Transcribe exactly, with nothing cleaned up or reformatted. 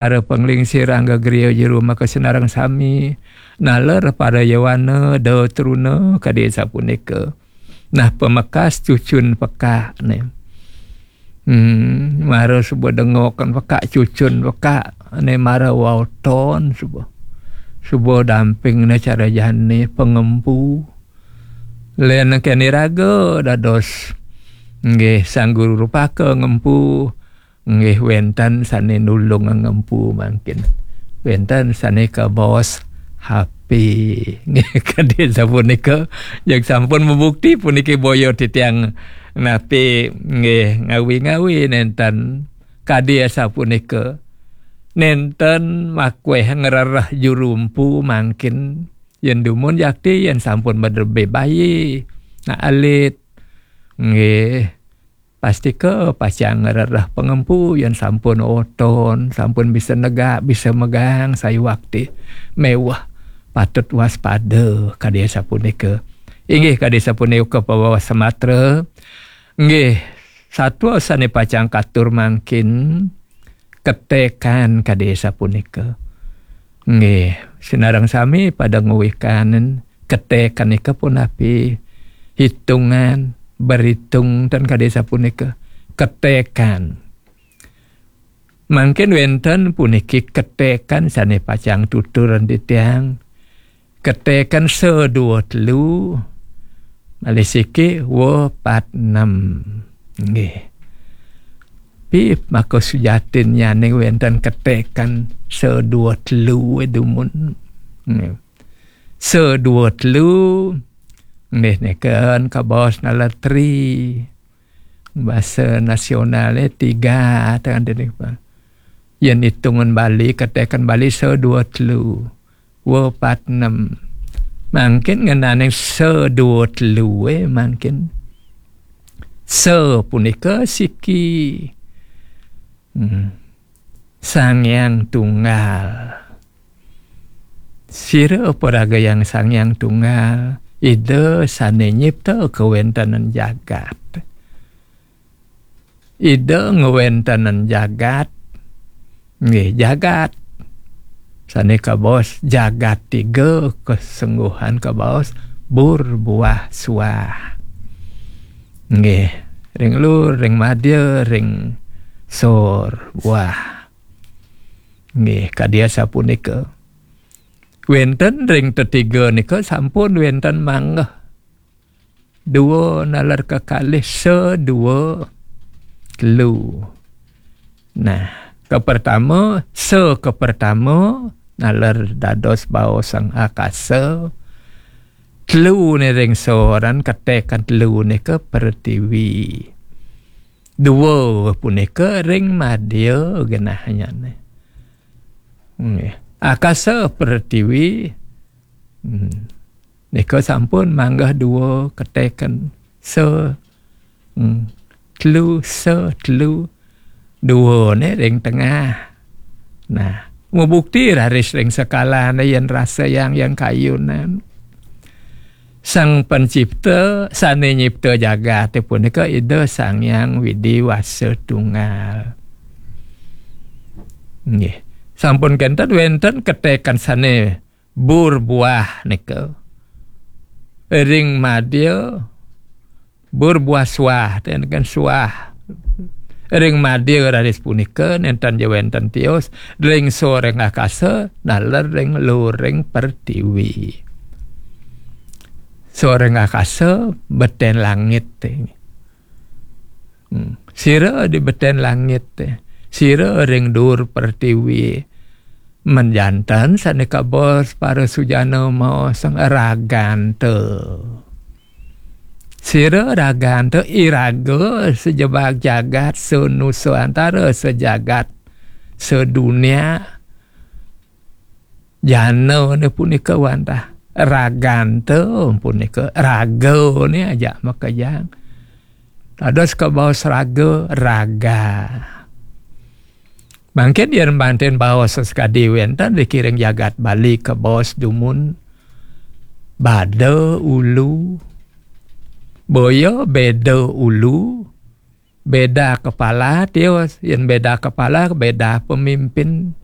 Para panglingsir angga griya jero maka sinareng sami, naler para yowana da truna kadi sapunika. Nah, pamekas cucun pekak né. Hmm, mara suba dengokan pekak, cucun pekak né, mara waoton suba. Suba dampingna cara jani pangempu. Lén kén iraga dados nggih sang guru rupaka ngempu. Nggih, wénten sané nulung ngempu mangkin. Wénten sané kabaos H P. Nggih, kadi sapunika, jeg sampun mabukti puniki boya titiang napi nggih ngawi-ngawi nénten kadi sapunika. Nénten makwéh ngrereh juru empu mangkin. Yén dumun jakti, yén sampun madrebé bayi. Nah, alit. Nggih. Pastika pacang ngrereh pangempu yén sampun oton, sampun bisa negak, bisa megang sayuwakti. Méweh patut waspada kadi sapunika. Inggih kadi sapunika pabaos matra. Nggih, satua sané pacang katur mangkin ketekan kadi sapunika. Nggih, sinareng sami pada nguwikanen ketekan nika punapi hitungan, berhitung ten kadi sapunika. Ketekan. Mangkin wénten puniki ketekan sané pacang tuturan titiang. Ketekan sa dua telu, malih siki wa pat enam. Nggih. Pi maka sujatin nyaning wénten ketekan sa dua telu dumun. Nggih. Sa dua telu. Nggih, neken kabaos nalar tri. Basa nasionalé tiga, tangan dene, Pak. Yén itungan Bali, ketekan Bali sa dua telu. Wa pat enam. Mangkin ngenaning sa dua telu, eh, mangkin. Sa punika siki. Hmm. Sang Hyang Tunggal. Sira paraga Hyang Sang Hyang Tunggal, Ida sané nyipta kawéntenan jagat. Ida ngwéntenan jagat. Nggih, jagat. Sané kabaos jagat tiga, kesungguhan kabaos bur buah suah. Nggih, ring lur, ring madya, ring sor buah. Nggih, kadi sapunika. Wénten ring tetiga nika sampun wénten manggeh. Dua nalar kekalih, sa dua telu. Nah, kepertama, sa kepertama nalar dados baos sang akasa. Telu né ring soran, ketekan telu nika pertiwi. Dua punika ring madya genahnyane. Nggih. Akasa pertiwi. Hmm. Nika sampun manggah dua ketekan. Sa, hmm, telu, sa, telu. Dua né ring tengah. Nah, mabukti raris ring sekalané yén rasa yang, yang kayunan. Sang Pencipta, sané nyipta jagaté punika Ida Sang Hyang Widi Wasa Tunggal. Nggih. Sampun kénten wénten ketekan sané bur buah nika. Ring madya bur buah suah, ten kan suah. Ring madya raris punika nénten ja wénten tios, ring sor ring akasa, naler ring lur ring pertiwi. Sor ring akasa, beten langit. Hmm. Sira di beten langit, sira ring dur pertiwi. Menjanten sané kabaos para sujana maos sang raganta. Sira raganta iraga sajebag jagat, sanusantara, sajagat, sadunia. Jana né punika wantah. Raganta punika, raga né ajak makejang. Dados kabaos raga, raga. Mangkin yén banten baos sakadi wénten ring jagat Bali kabaos dumun bada ulu. Boya beda ulu, beda kepala, tios. Yén beda kepala, beda pemimpin.